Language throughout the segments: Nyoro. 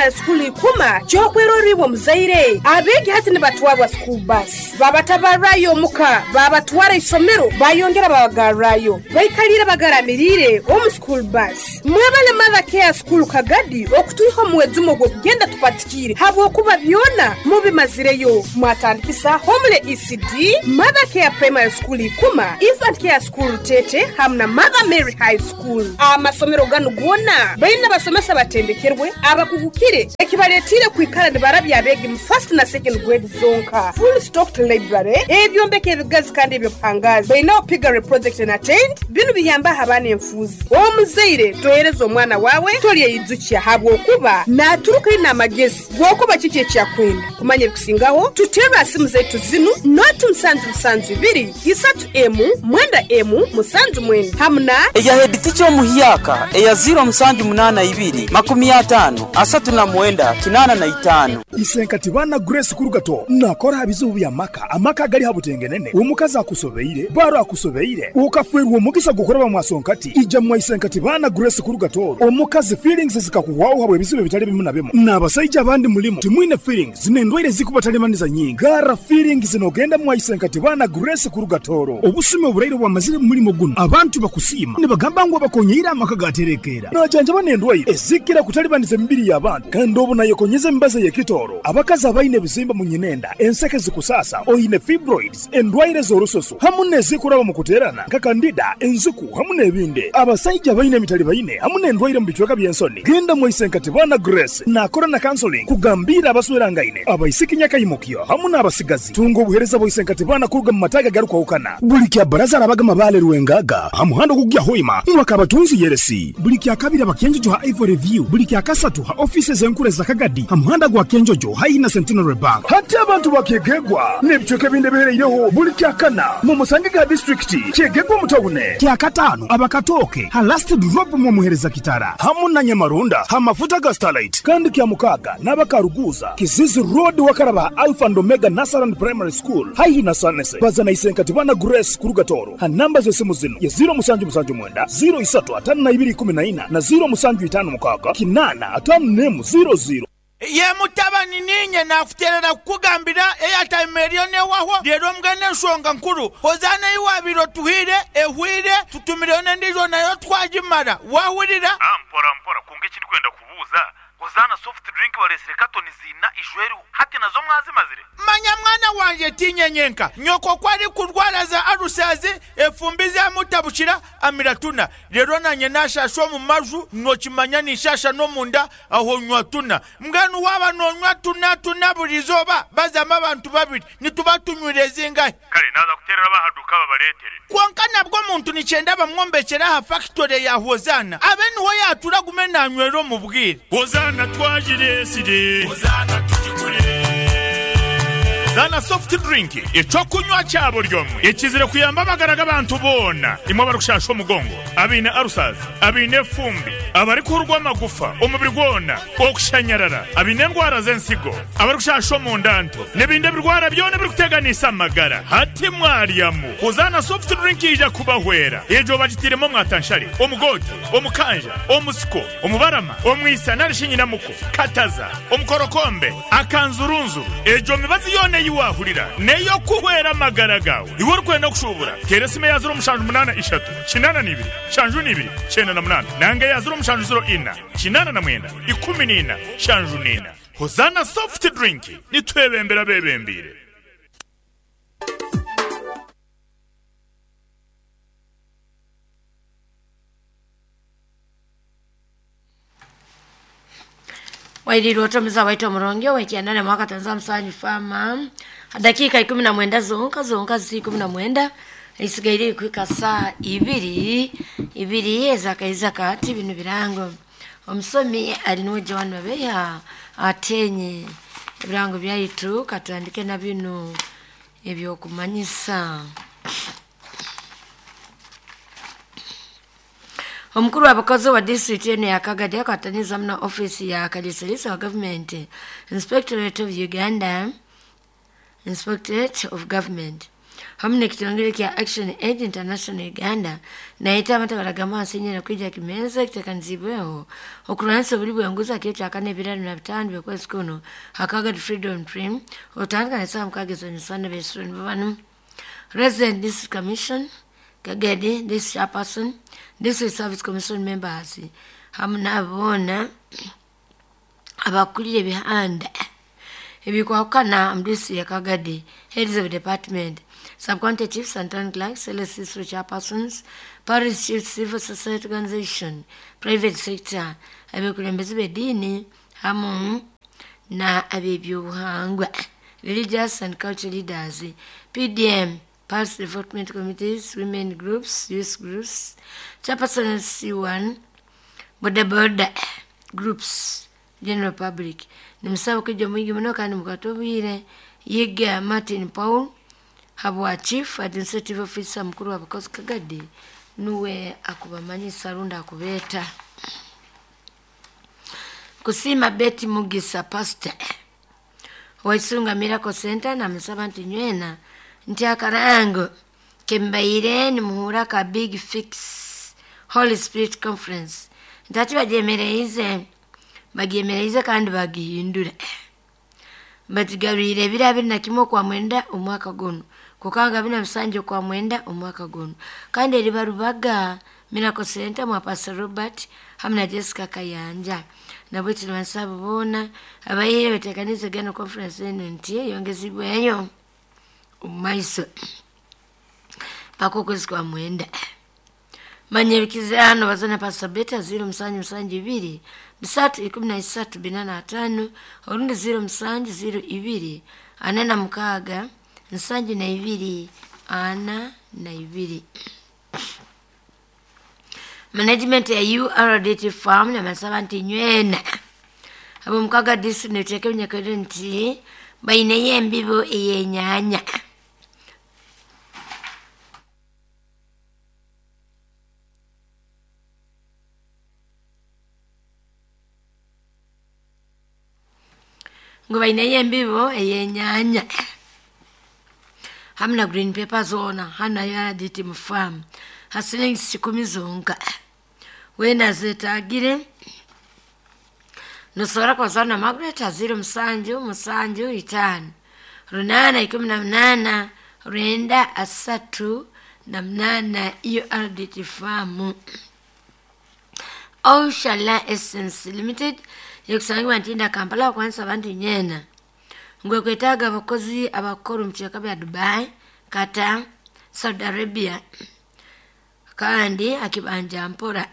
Primary School Ikuma ky'okwerorra iwe omuzaire. Abeegi hati nibatwarwa school bus, babatabarrayo omuka, babatwara isomero, bayongera babagarrayo. Baikaliire bagaramiriire omu school bus. Mwebale Mother Care School Kagadi okutwiha omu mwejumo gw'okugenda tupatikiire habwokuba byona mubimazireyo. Mwatandikisa Homely ECD, Mother Care Primary School Ikuma, Infant Care School Rutete hamu na Mother Mary High School. Amasomero ganu goona baine abasomesa abatendekerwe, abakugukire ekibaletiire kwikara nibarabya abeegi mu first na second grade zonka. Full stocked library, ebyombeko ebigazi kandi eby'obuhangaazi. Baineho piggery project na tent, binu biyambaho abaana enfuuzi. Omuzaire tohereza omwana waawe tolyeyijukya habwokuba naaturuka aine amagezi g'okuba kiki eki akwenda. Kumanya ebikusingaho, tuterre ha simu zaitu zinu, noti musanju musanju ibiri, isatu emu, mwenda emu, musanju mwenda hamu na. Eya headteacher omuhyaka eya ziro musanju munana ibiri, makumi atano, asatu na mwenda, kinana na itano. Isenkati baana Grace Kurugato nakora ha bizibu by'amaka, amaka agali ha butengenene, omukazi akusobeire, baro akusobeire, okafwerwa omugisa gw'okuraba mwasonkati, ija mwa Isenkati baana Grace Kurugato, omukazi feelings zikakuhwaho habwa ebizibu ebitali bimu na bimu. N'abasaija abandi mulimu timwine feelings n'endwaire zikubatalimaniza nyingi. Gara feelings n'ogenda mwa Isenkati baana Grace Kurugatoro. Obusumi oburaire bwamazire mu mulimo guno, abantu bakusiima nibagamba ngu abakonyeire amaka gaterekeera. Najanjaba n'endwaire ezikira kutalibaniza emibiri y'abantu, kandi obu nayekonyeza emibazi ey'ekitooro. Abakazi abaine ebizimba mu nyinenda, enseke zikusasa, oine fibroids, endwaire z'orususu hamu n'ezikuraba mu kuteerana nka kandida, enziku hamu n'ebindi. Abasaija abaine emitalibaine hamu n'endwaire mu bicweka by'ensoni, genda mwa Isenkati baana Grace nakora na counseling kugambiira abaswerangaine, abaisiki nyakaimukyo hamu n'abasigazi. Tunga obuheereza bwa Isenkati baana kuruga mu mataaga agarukwahukana. Buli kya baraza arabaga Mabale Rwengaga ha muhanda ogukugya Hoima mwaka abatunzi Yeresi. Buli kya kabiri aba Kyenjojo ha Ivory View. Buli kya kasatu ha office z'enkura eza Kagadi ha muhanda gwa Kyenjojo haihi na Centenary Bank. Hati abantu ba Kyegegwa n'ebicweka ebindi ebihereireho buli kya kana mu musange ga disitulikiti Kyegegwa omu tawune. Kya kataano aba Katooke ha Last Drop mu Omuhereza Kitara hamu na Nyamarunda ha mafuta ga Starlight. Kandi kya mukaaga n'aba Karuguuza, Kizizi Road wakaraba ha Alpha and Omega Nursery and Primary School haihi na Sanese. Baza na Isenkati Bana Grace kuruga Tooro ha namba z'esimu zinu ye ziro musanju musanju mwenda, ziro isatu atano na ibiri ikumi na ina na ziro musanju itano mukaaga kinana atano n'emu ziro ziro. Ye mutabani, niinye naakuteerera kukugambira eyataima eriyo n'ewahwo. Reero mbwenu enshonga nkuru, Hozaana ei waabaire otuhaire ehweire, tutumireyo n'endiijo nayo twagimara. Waahurira? Mpora mpora, kwonka eki ndikwenda kubuuza, Hozaana soft drink bareetsire katoni ziina ijweriho, hati nazo mwazimazire? Manya mwana wangye, tiinye nyenka. Nyoko ku arikurwara za alusazi, efumbi zaamutabukira, amira tuna. Reero naanye naashaasha omu maju, nookimanya ninshaasha n'omunda, aho nywa tuna. Mbwenu waaba noonywa tuna tuna buri izooba, bazamu abantu babiri, nituba tunywire zingahi? Kare naaza kuteerera ab'aha duuka babareetere. Kwonka nabwo omuntu nikyenda bamwombekyere aha fakitore ya Hozaana, abe niho yaatuura agume naanywera omu bwire. Hozaana twagireetsire. Hozaana tugigure. Hozaana soft drink, eky'okunywa kya buri omwe ekizire kuyamba amagara g'abantu boona, imwe abarikushasha omugongo, abaine ulcers, abaine efumbi, abarikuhurwa amagufa omubiri gwona, okushanyarara, abaine endwara z'ensigo, abarikushasha omunda nto, n'ebindi ebirwara byona ebirikuteganisa amagara. Hati mwaryamu Hozaana soft drink yaija kubahwera. Egyo bagitairemu omwatanshare, omugoote, omukanja, omusiko, omubarama, omwisa nari shi nyinamuko, kataza, omukorokombe, akanzurunzuru. Egyo mibazi yoona ei waahurira n'ey'okuhwera amagara gaawe. Iwe orikwenda kushuubura, teera esimu eya ziro mushanju munaana ishatu, kinaana na ibiri, nshanju na ibiri, kyenda na munaana nanga eya ziro mushanju ziro ina, kinaana na mwenda, ikumi na ina, nshanju na ina. Hozaana Soft Drink, nitwebembera abeebembeire. Wairirwe otomiza waitu omurungi ow'ekyenda na mwaka tanza musanju fama dakika 19 zonka zonka ziri 19 isigaire ikuhika saa ibiri ibiri ezakaiza kati bino birango omusomi ali niwe Joan Babeya atenye ebirango byaitu katandike na bino ebyokumanyisa. Omukuru w'abakozi wa district eno ya Kagadi akwataniza muno office ya Kaliisaliisa wa government Inspectorate of Uganda Inspectorate of Government. Hamu n'ekitongole kya Action Aid International Uganda nayeta abantu abaragamba hansi enyera kwija kimenza kitekanizibweho okurwanisa obuli bwenguzi akiro kyakana ebiro abiri na bitaano by'okwezi kuno Hakagadi Freedom Dream otandika n'esaaha mukaaga ez'emisana beesuro nibo banu Resident District Commission Kagadi District Chairperson District Service Commission members hamu n'abo boona abakulire ebihanda ebikwahukana mu district ya Kagadi, heads of department, sub-county chiefs and town clerks, LSC chairpersons, parish chiefs, civil society organization, private sector, abekulembeze b'eddiini hamu na ab'ebyobuhangwa, religious and cultural leaders, PDM, parish development committees, women groups, youth groups, chairpersons C1, boda boda groups, general public. Nimusaba kwija mwingi muno kandi mukwate obwire. Yiga Martin Paul habwa chief administrative officer mukuru wa Bukozi Kagadi nuwe akubamanyisa rundi akubeeta. Kusiima Betty Mugisa pastor Waisunga Miracle Center namusaba nti nywena nti akarango kembaire nimuhura ka Big Fix Holy Spirit Conference ntati bagyemereize bagyemereize kandi bagihindura batigarwire ebiro abiri na kimwe okwa mwenda omwaka guno kukanga abiri na musanju okwa mwenda omwaka guno kandi eriba Rubaga Miracle Center mwa Pastor Robert hamu na Jessica Kayanja nabwe tunibansaba boona abayiire betekanize gano conference eno nti eyongezibweyo omu maiso paka okwezi kwa mwenda. Manya ebikizano bazana Pastor Beta 0772 3 13 45 orundi 0702 46 72 42. Management ya URDT farm namasaba nti nywena abo mukaga district neteeka ebinyakaliro nti baineyo embibo ey'enyaanya. Ngu baineyo embibo ey'enyaanya hamu na green paper zoona hanu na URDT mu farm ha silingi 10 zonka. Wena zetagire nosobora kubazana Margaret 07 7 5 8 18 9 38 URDT farm. Oshala Essence Limited yekusangibwa Ntinda Kampala okwanisa abantu nyena ngwe kwetaaga abakozi abakora omu kicweka bya Dubai, Qatar, Saudi Arabia kandi akibanja mpora.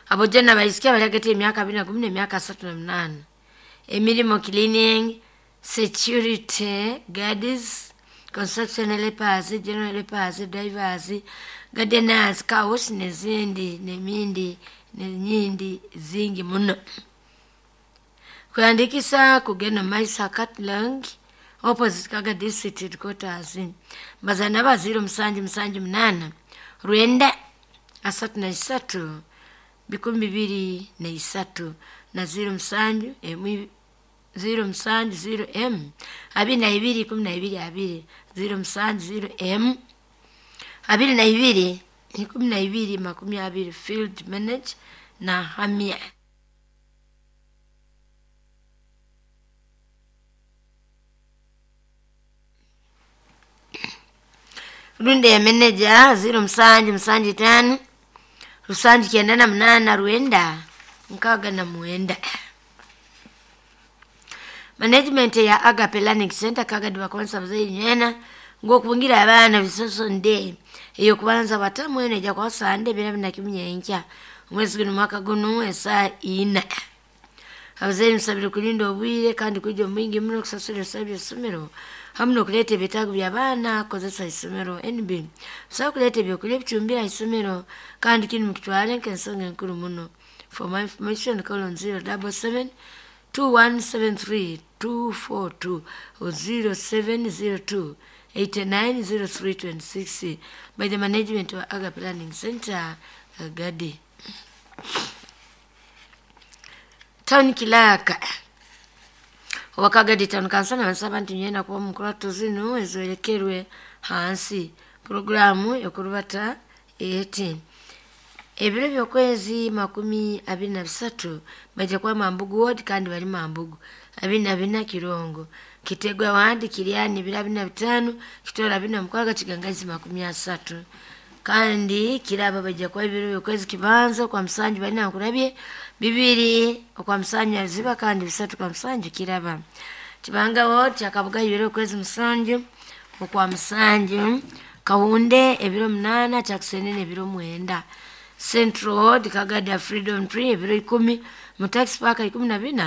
Abojana abaisiki abali hagati y'emyaka 21 n'emyaka 38. Emirimo cleaning, security guards, construction helpers, general helpers, drivers, gardeners, car wash n'ezindi n'emindi n'enyindi zingi muno. Kuandikisa kugenda Maisa Katlang opposite Kaga District Headquarters. Bazana ba 07 7 8 9 33 23 na 07 M 07 0 M 22 12 2 07 0 M 22 12 20 field manage na Hamia. Runde ya manager 07 7 5 7 98 9 69. Management ya Agape Learning Center Kagadi bakonsa bazayi nyena ng'okungira abaana bisoso nde eyo kubanza batamu eno ejja kuba Sande bira binakimunyenkya omwezi guno mwaka guno esaa ina. Abazaire musabire kulinda obwire kandi kwija omwingi muno okusasura ebisale by'essomero hamu n'okuleeta ebyetaago by'abaana kukozesa isomero. NB musobola kuleeta ebyokulya ebicumbire aha isomero kandi kinu mukitware nk'ensonga enkuru muno. For more information call on 077 2173 242 or 0702 890326 by the management of Agape Learning Center, Kagadi. Town Kilaka Owakagadi town council nabasaba nti nyena kuba mukurato zinu ezolekerwe hansi. Programu yokurubata eti ebiro by'okwezi 23 baija kuba Mambugu ward kandi bali Mambugu, 24 Kirongo, Kitegwa ward Kiriani biro 25, Kitora 46, Kigangazi 30. Kandi kiraba baija kuba ebiro by'okwezi kibanza kwa musanju bali nankurabye 2 okwa musanju aziba kandi 3 kwa musanju kiraba. Kibanga ward kyakabuga ebiro by'okwezi 7 okwa musanju, Kahunde ebiro 8, Kyakusenene ebiro 9. Central Ward Kagada Freedom Tree ebiro 10, Mutax Park 14.